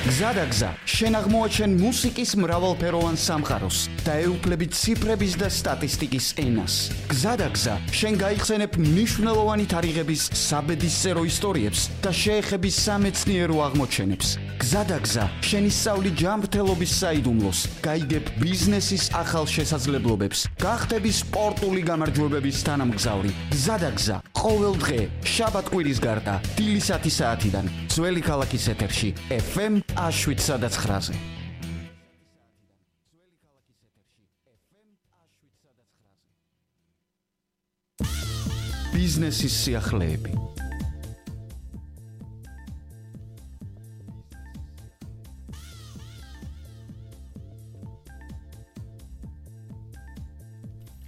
გზადაგზა, შენ აღმოაჩენ მუსიკის მრავალფეროვან სამყაროს და ეუფლები ციფრების და სტატისტიკის ენას. გზადაგზა, შენ გაიხსენებ მნიშვნელოვანი თარიღების საბედისწერო ისტორიებს და შეეხები სამეცნიერო აღმოჩენებს. გზადაგზა, შენ ისწავლი ჯანმრთელობის საიდუმლოს, გაიგებ ბიზნესის ახალ შესაძლებლობებს, გახდები სპორტული გამარჯვებების თანამგზავრი. გზადაგზა, ყოველ დღე, შაბათ-კვირის გარდა, დილისათი საათიდან, ძველი ქალაქის ეთერში, FM აშვიცა და 9-ზე. ბიზნესის სიახლეები.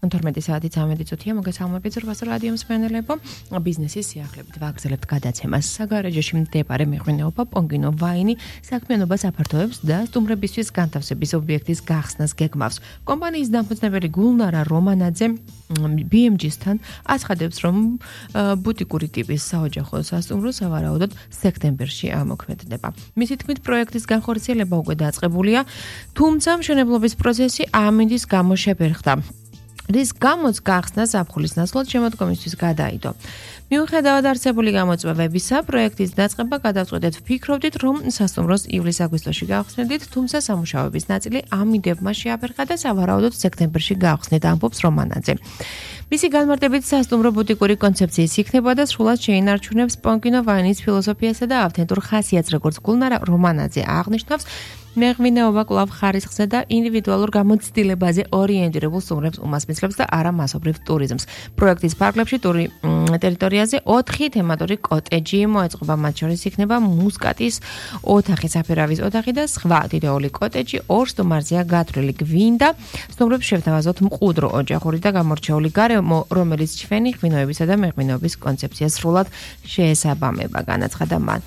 თორმეტი საათი 13 წუთია მოგესალმებით ზურბას რადიო მსმენელებო ბიზნესის სიახლეებით ვაგრძელებთ გადაცემას საგარეჯოში მდებარე მეღვინეობა პონგინო ვაინი საქმიანობას აფართოებს და სტუმრებისთვის განთავსების ობიექტის გახსნას გეგმავს კომპანიის დამფუძნებელი გულნარა რომანაძე BMG-სთან აცხადებს რომ ბუტიკური ტიპის საოჯახო სასტუმრო სავარაუდოდ სექტემბერში ამოქმედდება მისი თქმით პროექტის განხორციელება უკვე დაწყებულია თუმცა მშენებლობის პროცესი ამინდის გამო შეფერხდა რის გამოც გახსნა ზაფხულის ნაცვლად შემოდგომისთვის გადაიდო. მიუხედავად არსებული გამოწვევებისა, პროექტის დაწყება გადავწყვეტეთ ვფიქრობდით, რომ სასტუმროს ივლის-აგვისტოში გავხსნედით, თუმცა სამუშაოების ნაწილი ამინდებმა შეაფერხა და სავარაუდოდ სექტემბერში გავხსნით, ამბობს რომანაძე. მისი განმარტებით სასტუმრო ბუტიკური კონცეფციის იქნება და სრულად შეინარჩუნებს პონკინო ვაინის ფილოსოფიასა და ავთენტურ ხასიათს, როგორც გულნარა რომანაძე აღნიშნავს, მეღვინეობა კვლავ ხარისხზე და ინდივიდუალურ გამოცდილებაზე ორიენტირებულ სტუმრებს უმასპინძლებს და არა მასობრივ ტურიზმს. პროექტის ფარგლებში ტერიტორიაზე 4 თემატური კოტეჯი მოეწყობა, მათ შორის იქნება მუსკატის ოთახი, საფერავის ოთახი და სხვა თითოეული კოტეჯი 2 სტუმარზეა გათვლილი. გვინდა სტუმრებს შევთავაზოთ მყუდრო ოჯახური და გამორჩეული გარემო, რომელიც ჩვენი ღვინოებისა და მეღვინეობის კონცეფციას სრულად შეესაბამება, განაცხადა მან.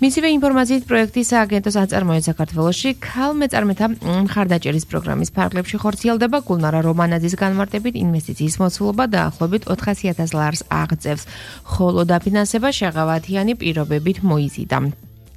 მისივე ინფორმაციით პროექტის სააგენტოს აწარმოებს საქართველოში ქალმეწარმეთა მხარდაჭერის პროგრამის ფარგლებში ხორციელდება გულნარა რომანაძის განმარტებით ინვესტიციის მოცულობა დაახლოებით 400,000 ლარს აღწევს, ხოლო დაფინანსება შეღავათიანი პირობებით მოიზიდა.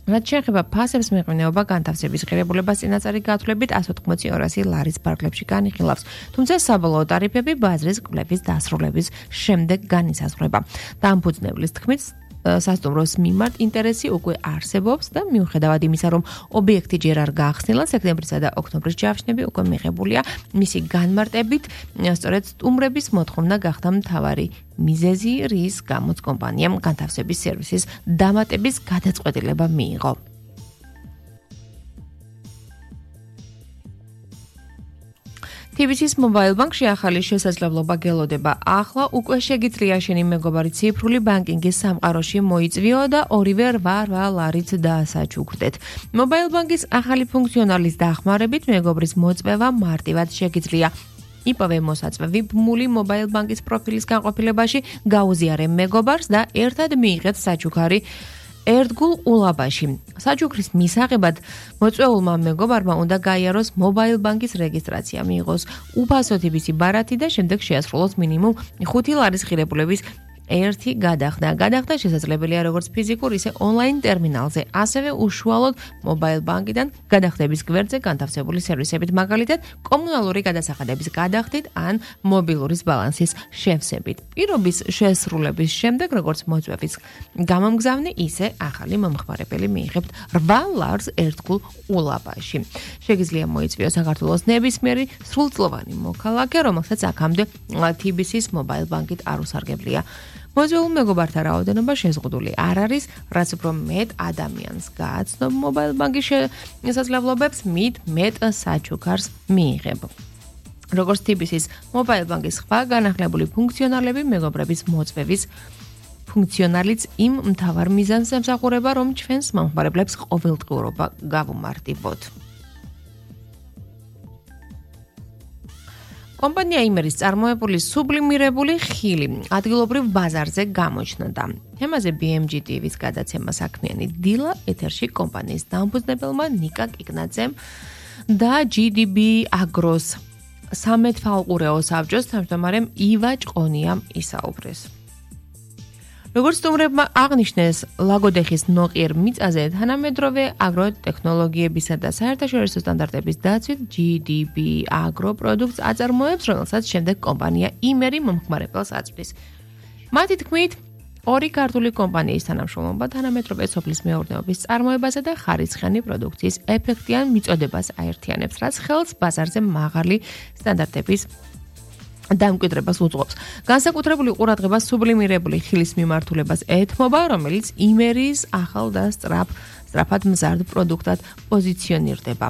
რაც შეეხება ფასებს მეღვინეობა განთავსების ღირებულებას წინაწარი გათვლებით 180-200 ლარის ფარგლებში განიხილავს, თუმცა საბოლოო ტარიფები ბაზრის კვლევის დასრულების შემდეგ განისაზღვრება. დამფუძნებლის თქმით სასტუმროს მიმართ ინტერესი უკვე არსებობს და მიუხედავად იმისა, რომ ობიექტი ჯერ არ გაახსნილა, სექტემბრისა და ოქტომბრის ჯავშნები უკვე მიღებულია, მისი განმარტებით, სწორედ სტუმრების მოთხოვნა გახდა მთავარი მიზეზი, რის გამოც კომპანიამ განთავსების სერვისის დამატების გადაწყვეტილება მიიღო. TBC-ის მობაილ ბანკში ახალი შესაძლებლობა გელოდება. ახლა უკვე შეგიძლია შენი მეგობარი ციფრული ბანკინგის სამყაროში მოიწვიო და ორივე 8 ლარით დაასაჩუქრდეთ. მობაილ ბანკის ახალი ფუნქციონალის დახმარებით მეგობრის მოწვევა მარტივად შეგიძლია. იპოვე მოსაწვევი ბმული მობაილ ბანკის პროფილის განყოფილებაში, გაუზიარე მეგობარს და ერთად მიიღეთ საჩუქარი ერთგულ ყულაბაში. საჩუქრის მისაღებად მოწვეულმა მეგობარმა უნდა გაიაროს მობაილ ბანკის რეგისტრაცია, მიიღოს უფასო TBC ბარათი და შემდეგ შეასრულოს მინიმუმ 5 ლარის ღირებულების ერთი გადახდა. გადახდა შესაძლებელია როგორც ფიზიკურ, ისე ონლაინ ტერმინალზე, ასევე უშუალოდ მობაილ ბანკიდან გადახდების გვერდზე განთავსებული სერვისებით, მაგალითად, კომუნალური გადასახადების გადახდით ან მობილურის ბალანსის შევსებით. პირობის შესრულების შემდეგ, როგორც მოწვევის გამომგზავნე, ისე ახალი მომხმარებელი მიიღებთ 8 ლარს ერთგულ ყულაბაში. შეგიძლია მოიწვიო საქართველოს ნებისმიერი სრულწლოვანი მოქალაქე, რომელსაც აქამდე TBC-ის მობაილ ბანკით არ უსარგებლია. მოწვეულ მეგობართა რაოდენობა შეზღუდული არ არის, რაც უფრო მეტ ადამიანს გააცნობ მობაილ ბანკის შესაძლებლობებს, მით მეტ საჩუქარს მიიღებ. როგორც TBC-ის მობაილ ბანკის სხვა განახლებული ფუნქციონალები, მეგობრების მოწვევის ფუნქციონალიც იმ მთავარ მიზანს ემსახურება, რომ ჩვენს მომხმარებლებს ყოველდღიურობა გავუმარტივოთ. კომპანია იმერის წარმოებული სუბლიმირებული ხილი ადგილობრივ ბაზარზე გამოჩნდა. თემაზე BMG TV-ის გადაცემა საქმიანი დილა ეთერში კომპანიის დამფუძნებელმა ნიკა კიკნაძემ და GDB Agros სამეთვალყურეო საბჭოს თავმჯდომარემ ივა ჭყონიამ ისაუბრეს. როგორც სტუმრებმა აღნიშნეს, ლაგოდეხის ნოყიერ მიწაზე თანამედროვე აგროტექნოლოგიებისა და საერთაშორისო სტანდარტების დაცვით GDB Agro პროდუქტს აწარმოებს, რომელსაც შემდეგ კომპანია იმერი მომხმარებელს აწვდის. მათი თქმით, ორი ქართული კომპანიის თანამშრომლობა თანამედროვე სოფლის მეურნეობის წარმოებასა და ხარისხიანი პროდუქციის ეფექტიან მიწოდებას აერთიანებს, რაც ხელს ბაზარზე მაღალი სტანდარტების დამკვიდრებას უძღვებს. განსაკუთრებული ყურადღება სუბლიმირებული ხილის მიმართულებას ეთმობა, რომელიც იმერის ახალ და სწრაფად მზარდ პროდუქტად პოზიციონირდება.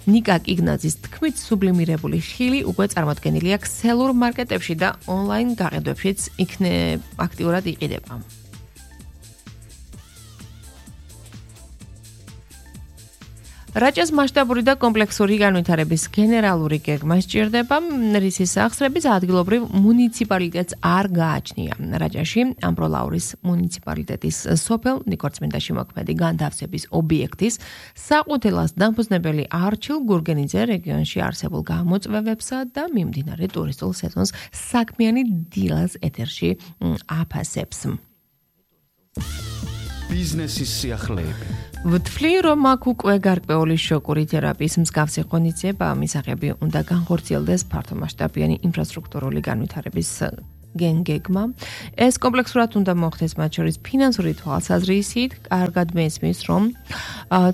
ნიკა კიგნაძის თქმით, სუბლიმირებული ხილი უკვე წარმოდგენილია ქსელურ მარკეტებში და ონლაინ გაყიდვებშიც აქტიურად იყიდება. რაჭას მასშტაბური და კომპლექსური განვითარების გენერალური გეგმა სჭირდება, რისის სახსრების ადგილობრივ მუნიციპალიტეტს არ გააჩნია. რაჭაში ამბროლაურის მუნიციპალიტეტის სოფელ ნიკორწმინდაში მოქმედი განთავსების ობიექტის საყუთელას დამფუძნებელი არჩილ გურგენიძე რეგიონში არსებულ გამოწვევებსა და მიმდინარე ტურისტულ სეზონს საქმიანი დილას ეთერში აფასებს. ბიზნესის სიახლეები. ვთვლი, რომ აქ უკვე გარკვეული შოკური თერაპიის მსგავსი ღონისძიება მისაღები უნდა განხორციელდეს ფართომასშტაბიანი ინფრასტრუქტურული განვითარების გეგმა. ეს კომპლექსურად უნდა მოხდეს მათ შორის ფინანსური თვალსაზრისით. კარგად მესმის, რომ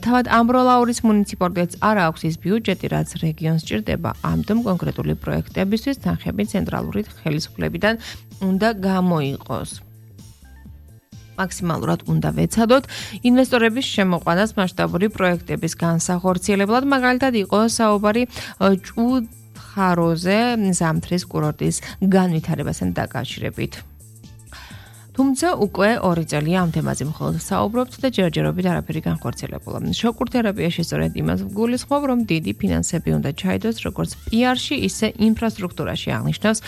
თავად ამბროლაურის მუნიციპალიტეტს არ აქვს ის ბიუჯეტი, რაც რეგიონს სჭირდება. ამიტომ კონკრეტული პროექტებისთვის თანხები ცენტრალური ხელისუფლებიდან უნდა გამოიყოს. მაქსიმალურად უნდა ვეცადოთ ინვესტორების შემოყვანას მასშტაბური პროექტების განსახორციელებლად, მაგალითად იყო საუბარი ჭუხაროზე ზამთრის კურორტის განვითარებასთან დაკავშირებით. თუმცა უკვე 2 წელია ამ თემაზე მხოლოდ საუბრობთ და ჯერჯერობით არაფერი განხორციელებულა. შოკურ თერაპიაში სწორედ იმას ვგულისხმობ, რომ დიდი ფინანსები უნდა ჩაიდოს როგორც PR-ში, ისე ინფრასტრუქტურაში, აღნიშნავს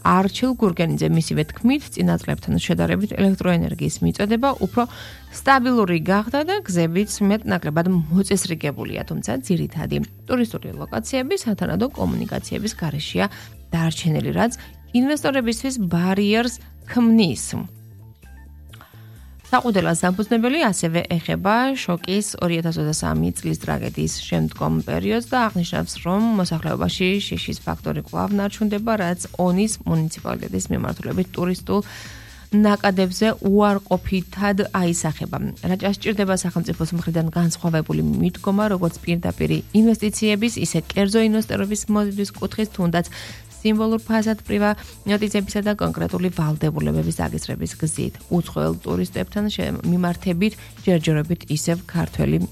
არჩილ გურგენიძე. მისივე თქმით, წინა წლებთან შედარებით ელექტროენერგიის მიწოდება უფრო სტაბილური გახდა და გზებიც მეტნაკლებად მოწესრიგებულია, თუმცა ძირითადი ტურისტული ლოკაციები სათანადო კომუნიკაციების გარეშეა დარჩენილი, რაც ინვესტორებისთვის ბარიერს ქმნის. საყუდელას დამფუძნებელი ასევე ეხება შოკის 2023 წლის ტრაგედიის შემდგომ პერიოდს და აღნიშნავს, რომ მოსახლეობაში შიშის ფაქტორი კვლავ ნარჩუნდება, რაც ონის მუნიციპალიტეტის მიმართულებით ტურისტულ ნაკადებზე უარყოფითად აისახება. რაჭას სჭირდება სახელმწიფოს მხრიდან განსხვავებული მიდგომა, როგორც პირდაპირ ინვესტიციების, ისე კერძო ინვესტორების მოზიდვის კუთხის, თუნდაც სიმბოლურ ფასად-პრივატიზებისა და კონკრეტული ვალდებულებების დაგისრების გზით. უცხოელ ტურისტებთან მიმართებით ჯერჯერობით ისევ ქართველი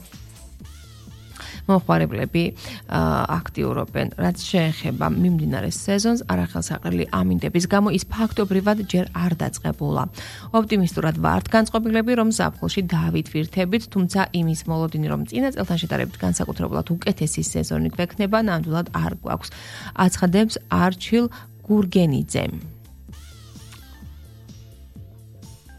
მომხმარებლები აქტიურობენ. რაც შეეხება მიმდინარე სეზონს, არახელსაყრელი ამინდების გამო ის ფაქტობრივად ჯერ არ დაწყებულა. ოპტიმისტურად ვართ განწყობილები, რომ ზაფხულში დავითვირთებით, თუმცა იმის მოლოდინი, რომ წინა წელთან შედარებით განსაკუთრებულად უკეთესი სეზონი გვექნება, ნამდვილად არ გვაქვს. აცხადებს არჩილ გურგენიძე.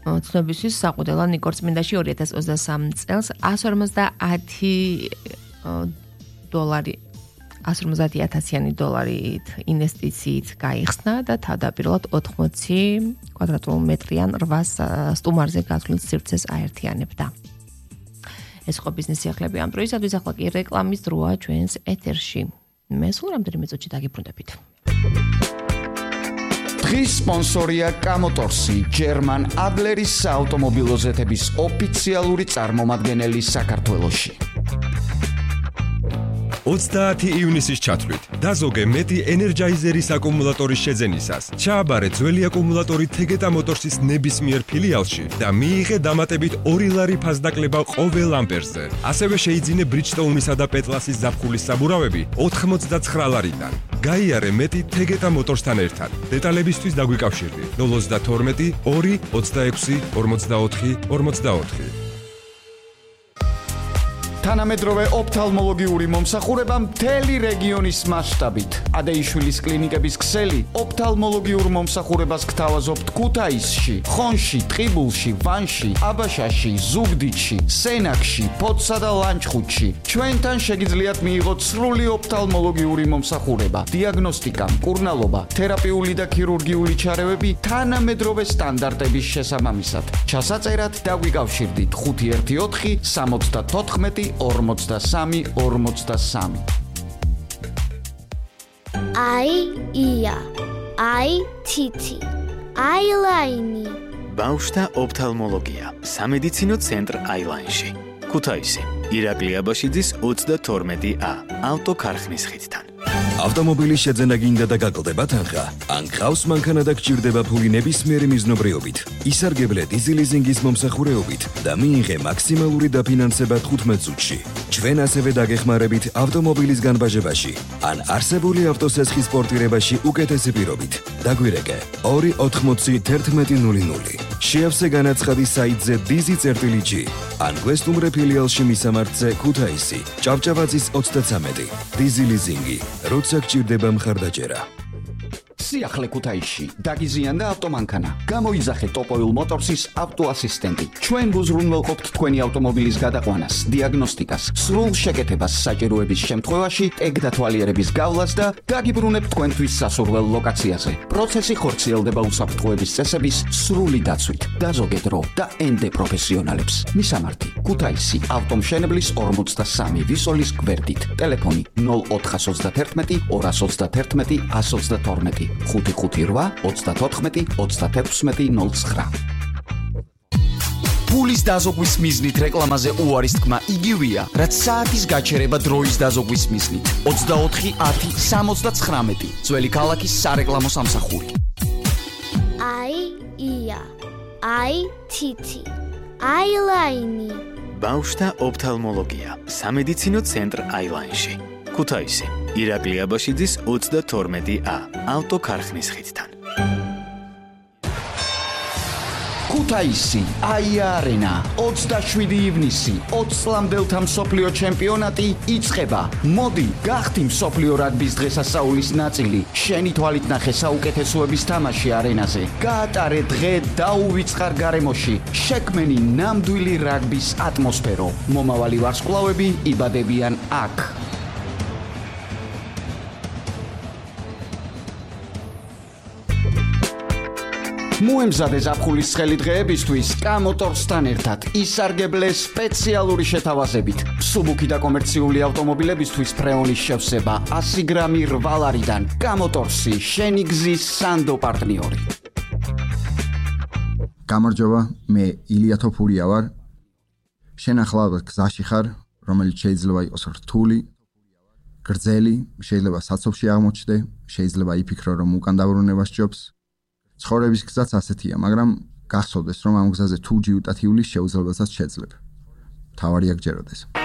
ცნობისთვის საყუდელა ნიკორწმინდაში 2023 წელს 150,000 დოლარით ინვესტიციით გაიხსნა და თავდაპირველად 80 კვადრატულ მეტრიან 8 სტუმარზე გათვლით სივრცეს აერთიანებდა. ეს ხო ბიზნესი ახლები ამ დროისათვის, ახლა კი რეკლამის დროა ჩვენს ეთერში. მე სულ რამდენიმე წუთში დაგიბრუნდებით. დღის სპონსორია კამოტორსი, ჯერმან ადლერის საავტომობილო ზეთების ოფიციალური წარმომადგენელი საქართველოში. 30 ივნისის ჩათვლით დაზოგე მეტი ენერჯაიზერის აკუმულატორის შეძენისას. ჩააბარე ძველი აკუმულატორი თეგეტა მოტორსის ნებისმიერ ფილიალში და მიიღე დამატებით 2 ლარი ფასდაკლება ყოველ ამპერზე. ასევე შეიძინე ბრიჯსტოუნისა და პეტლასის ზაფხულის საბურავები 89 ლარიდან. გაიარე მეტი თეგეტა მოტორსთან ერთად. დეტალებისთვის დაგვიკავშირდი 032 2 26 44 44. თანამედროვე ოფთალმოლოგიური მომსახურება მთელი რეგიონის მასშტაბით. ადეიშვილის კლინიკების ქსელი ოფთალმოლოგიურ მომსახურებას გთავაზობთ ქუთაისში, ხონში, ტყიბულში, ვანში, აბაშაში, ზუგდიდში, სენაკში, ფოთსა და ლანჩხუთში. ჩვენთან შეგიძლიათ მიიღოთ სრული ოფთალმოლოგიური მომსახურება, დიაგნოსტიკა, მკურნალობა, თერაპიული და ქირურგიული ჩარევები თანამედროვე სტანდარტების შესაბამისად. ჩასაწერად დაგვიკავშირდით 514 74 43 43. ია, თითი, აილაინი. ბავშვთა ოფთალმოლოგია, სამედიცინო ცენტრ აილაინში. ქუთაისი, ირაკლი აბაშიძის 32A, ავტოქარხნის ხიდთან. ავტომობილის შეძენა გინდა და გაკლდება თანხა? ან გყავს მანქანა და გჭირდება ფული ნებისმიერი მიზნობრიობით? ისარგებლე დიზელიზინგის მომსახურეობით და მიიღე მაქსიმალური დაფინანსება 15 წუთში. ჩვენ ასევე დაგეხმარებით ავტომობილის განბაჟებაში ან არსებული ავტოსესხის პორტირებაში უკეთესი პირობით. დაგვირეკე 280 შეავსე განაცხადი საიტზე dizi.g ან გვესტუმრე ფილიალში მისამართზე ქუთაისი, ჭავჭავაძის 33. დიზელიზინგი, როცა გჭირდება მხარდაჭერა. სიახლე ქუთაისში დაგიზიანდა ავტომანქანა. გამოიძახე ტოპოილ მოტორსის ავტოასისტენტი. ჩვენ გუზრუნველყოფთ თქვენი ავტომობილის გადაყვანას, დიაგნოსტიკას, სრულ შეკეთებას საჭიროების შემთხვევაში, ტეგ დათვალიერების გავლას და დაგიბრუნებთ თქვენთვის სასურველ ლოკაციაზე. პროცესი ხორციელდება უსაფრთხოების წესების სრული დაცვით. დაზოგე დრო და ენდე პროფესიონალებს. მისამართი: ქუთაისი, ავტომშენებლის 43 ვისოლის გვერდით. ტელეფონი 0431 231 122. 558 34 36 09. ფულის დაზოგვის მიზნით რეკლამაზე უარის თქმა იგივეა, რაც საათის გაჩერება დროის დაზოგვის მიზნით. 24 10 79. ძველი ქალაქის სარეკლამო სამსახური. ია, თითი, აილაინი. ბავშვთა ოფთალმოლოგია, სამედიცინო ცენტრ აილაინში. ქუთაისი, ირაკლი აბაშიძის 32A, ავტოქარხნის ხიდთან. ქუთაისი, აია არენა, 27 ივნისი, 20 წლამდელთა მსოფლიო ჩემპიონატი იწყება. მოდი, გახდი მსოფლიო რაგბის დღესასწაულის ნაწილი. შენი თვალით ნახე საუკეთესოების თამაში არენაზე. გაატარე დღე დაუვიწყარ გარემოში. შექმენი ნამდვილი რაგბის ატმოსფერო. მომავალი ვარსკვლავები იბადებიან აქ. მოემზადე ზაფხულის ცხელი დღეებისთვის კამოტორსთან ერთად ისარგებლე სპეციალური შეთავაზებით. სუბუქი და კომერციული ავტომობილებისთვის ფრეონის შევსება 100 გრამი რვალარიდან. კამოტორსი, შენი გზის სანდო პარტნიორი. გამარჯობა, მე ილია თოფურია ვარ. შენ ახლა გზაში ხარ, რომელიც შეიძლება იყოს რთული, გრძელი, შეიძლება საცობში აღმოჩნდე, შეიძლება იფიქრო, რომ უკან დაბრუნება სჯობს. ცხოვრების გზაც ასეთია, მაგრამ გახსოვდეს, რომ ამ გზაზე თუ ჯიუტათიulis შეუძლებელსაც შეძლებ. თავარია გჯეროდეს.